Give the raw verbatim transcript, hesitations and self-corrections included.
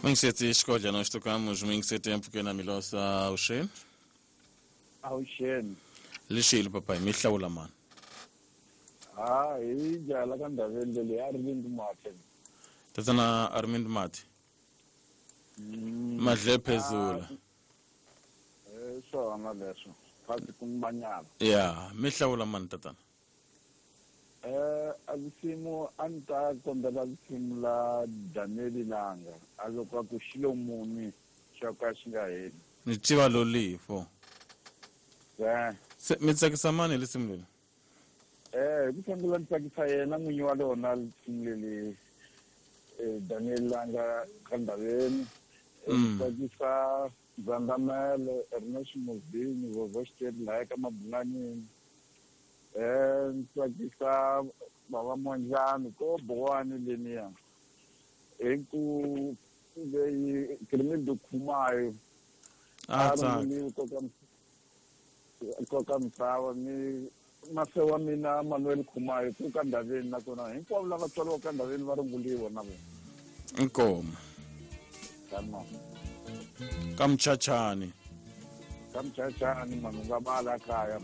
Mingisetsi xikodla nós tocamos Mingisete mpfhukeni Milosa avuxeni. Avuxeni. Lexile papayi mi hlawula mani? Ha hi jala ka ndhaveni leyi a ri ndi mati. Tatana Armind Mati. Madle phezulu. Eh swona leswo. Phasi kumanyana. Ya, mi hlawula mani tatana? Eh a risimu a ni ta kombela risimu la Daniel Langa a loko a ku xilo muni xo ka xi nga heli. Ni tiva lolifo. Eh. Se mi tsakisa mani risimu leri? Eh hi ku sungula ni tsakisa yena n'winyi wa lona risimu leri eh Daniel Langa ka ndhaveni. Mm. Tsakisa Zandamele Ernest Muzini Vovo Xiteri lahaya ka Mabunganini. Eh tsakisa baba Monjani ko Bowani leniya. Hi ku leyi Kirimido Khumayo. A tsaka. Koka misava ni mase wa mina Manuel Khumayo ku ka ndhaveni nakona hinkwavo lava tswariwaka ka ndhaveni va runguliwa na vona. Inkomo. Tama. Ka Mchachani. Ka Mchachani mani u nga bala kaya.